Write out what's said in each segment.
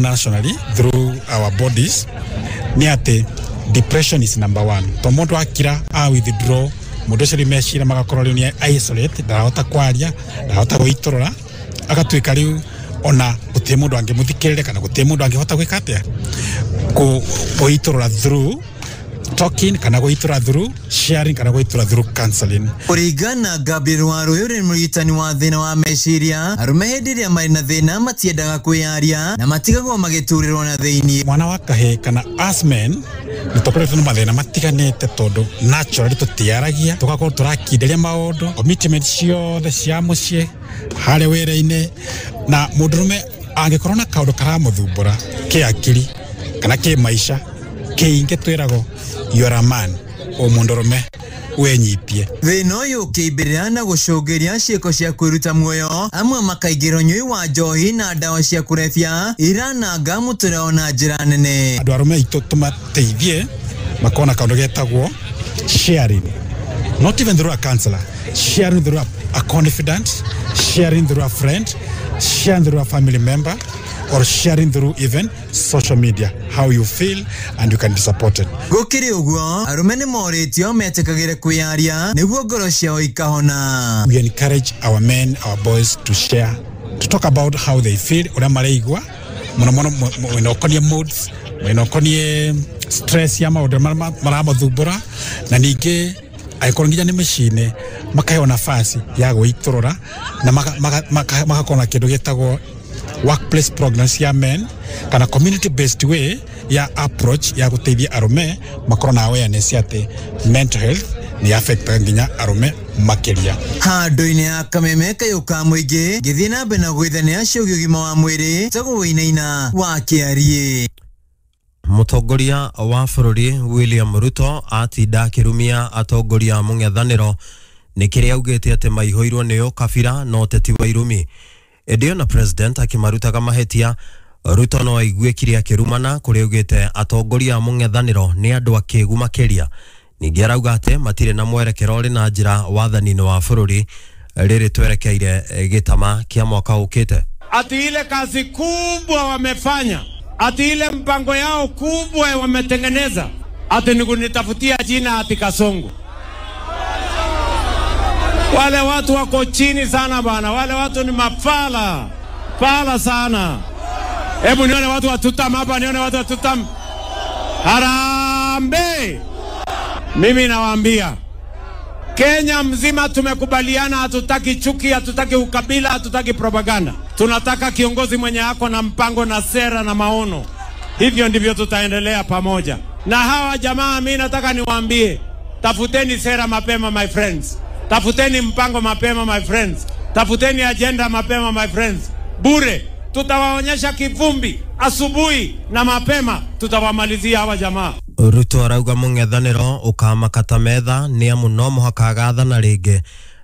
Nationally, through our bodies, nĩ atĩ depression is number one, to mũndũ akira a withdraw, mũndũ ũcio rĩu meciria magakorwo rĩu nĩ isolate, ndarahota kwaria, ndarahota gwĩitũrũra, agatuĩka rĩu ona gũtirĩ mũndũ angĩmũthikĩrĩria kana gũtirĩ mũndũ angĩhota gwĩka atĩa, gwĩitũrũra through talking kana gwĩitũrũra through sharing kana gwĩitũrũra through counseling. Kũringana na Gabriel Waruyu, ũrĩa nĩ mũrigitani wa thĩna wa meciria, arũme hĩndĩ ĩrĩa marĩ na thĩna matiendaga kwĩyaria na matigagwo magĩturĩrwo na thĩinĩ. Mwana wa kahĩĩ kana us men nĩ tũkoretwo na mathĩna matiganĩte, tondũ naturally tũtiaragia, tũgakorwo tũrakinderia maũndũ, commitment ciothe cia mũciĩ, harĩa wĩra-inĩ, na mũndũrũme angĩkorwo na kaũndũ karamũthumbũra kĩakiri kana kĩmaica kĩingĩ, twĩragwo you are a man, o mũndũrũme wenyitie. Thĩna ũyũ ũkĩimbĩrĩra na gũcũngĩria ciĩko cia kwĩruta muoyo, amwe makaingĩra ũnyui wa njohi na ndawa cia kũrebia irananga mũtũrĩre na njĩra nene. Andũ arũme aitũ tũmateithie makorwo na kaũndũ getagwo sharing, not even through a counselor, sharing through a confidant, sharing through a friend, sharing through a family member, or sharing through even social media how you feel, and you can be supported. Gũkĩrĩ ũguo, arũme nĩ morĩtio metĩkagĩre kwĩyaria nĩguo ngoro ciao ikahona. We encourage our men, our boys, to share, to talk about how they feel, ũrĩa mareigua mũno mũno mwena ũkoniĩ moods, mwena ũkoniĩ stress ya maũndũ marĩa maramathumbũra, na ningĩ angĩkorwo nginya nĩ mĩciĩ-inĩ, makaheo nafasi ya gwĩitũrũra na magakorwo na kĩndũ gĩtagwo workplace programs ya men kana community based way ya approach ya gũteithia arũme makorwo na awareness atĩ mental health nĩ affectaga nginya arũme makĩria. Handũ-inĩ ya kameme kayũ ka mũingĩ ngĩthiĩ na mbere na gwĩthania ciũgiĩ ũgima wa mwĩrĩ, tagwo Wĩinaina wa Kĩariĩ. Mũtongoria wa bũrũri William Ruto atinda akĩrumia atongoria a mũng'ethanĩro nĩ kĩrĩa augĩte atĩ maihũirwo nĩ ũkabira na ũteti wa irumi. Ĩndĩ ona president akĩmarutaga mahĩtia, Ruto no aiguĩkire akĩrumana kũrĩa augĩte atongoria a mũng'ethanĩro nĩ andũ akĩgu makĩria. Ningĩ arauga atĩ matirĩ na mwerekero ũrĩ na njĩra wathani-inĩ wa bũrũri rĩrĩ twerekeire gĩtama kĩa mwaka ũkĩte. Ati ile kazi kubwa wamefanya, ati ile mpango yao kubwa wametengeneza, ati ni kunitafutia jina ati Kasongo. Wale watu wako chini sana bana, wale watu ni mafala fala sana. Hebu nione watu wa Tutam hapa, nione watu wa Tutam. Harambee! Mimi nawaambia Kenya mzima tumekubaliana, hatutaki chuki, hatutaki ukabila, hatutaki propaganda. Tunataka kiongozi mwenye ako na mpango na sera na maono. Hivyo ndivyo tutaendelea pamoja. Na hawa jamaa, mimi nataka niwaambie, tafuteni sera mapema my friends. Tafuteni mpango mapema my friends. Tafuteni agenda mapema my friends. Bure tutawaonyesha kivumbi asubuhi na mapema, tutawamalizia hawa jamaa. Ruto arauga mũng'ethanĩro ũkamakata metha nĩ amu no mũhaka agathana rĩngĩ,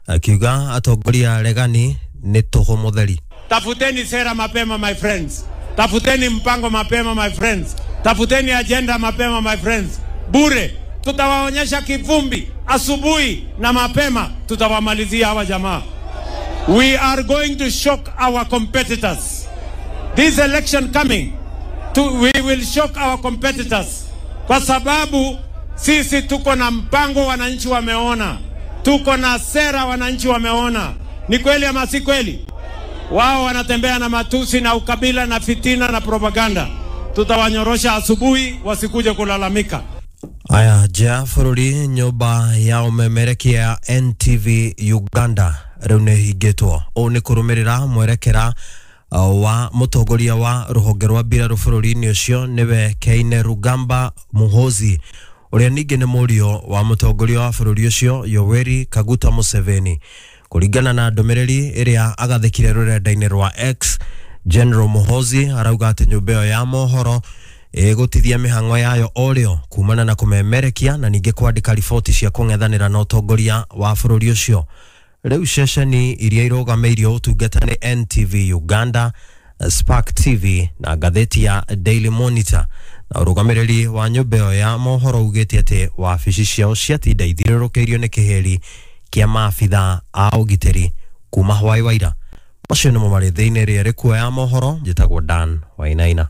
akiuga atongoria aregani nĩ tũhũ mũtheri. Tafuteni sera mapema my friends. Tafuteni mpango mapema my friends. Tafuteni agenda mapema my friends. Bure tutawaonyesha kivumbi asubuhi na mapema, tutawamalizia hawa jamaa. We are going to shock our competitors. This election coming, we will shock our competitors. Kwa sababu sisi tuko na mpango, wananchi wameona. Tuko na sera, wananchi wameona. Ni kweli ama si kweli? Wao wanatembea na matusi na ukabila na fitina na propaganda. Tutawanyorosha asubuhi, wasikuje kulalamika. Aya, nja bũrũri, nyũmba ya ũmemerekia ya NTV Uganda rĩu nĩ ĩhingĩtwo. Ũũ nĩ kũrũmĩrĩra mwerekera wa mũtongoria wa rũhonge rwa mbirarũ bũrũri-inĩ ũcio, nĩwe Keine Rugamba Muhoozi, ũrĩa ningĩ nĩ mũriũ wa mũtongoria wa bũrũri ũcio Yoweri Kaguta Museveni. Kũringana na ndũmĩrĩri ĩrĩa agathĩkire rũrenda-inĩ rwa X, General Muhoozi arauga atĩ nyũmba ĩyo ya mohoro ĩgũtithia mĩhang'o yayo o rĩo kumana na kũmemerekia na ningĩ kwandĩka riboti cia kũng'ethanĩra na ũtongoria wa bũrũri ũcio. Rĩu ceceni iria irũgamĩirio ũtungata nĩ NTV Uganda, Spark TV na ngathĩti ya Daily Monitor, na ũrũgamĩrĩri wa nyũmba ĩyo ya mohoro ugĩte atĩ wabici ciao ciatinda ithiũrũrũkĩirio nĩ kĩhĩri kĩa maabitha a ũgitĩri kuma hwaĩ wa ira. Macio nĩmo marĩ thĩinĩ rĩrĩa rĩkuoya mohoro. Njĩtagwo Dan Wainaina.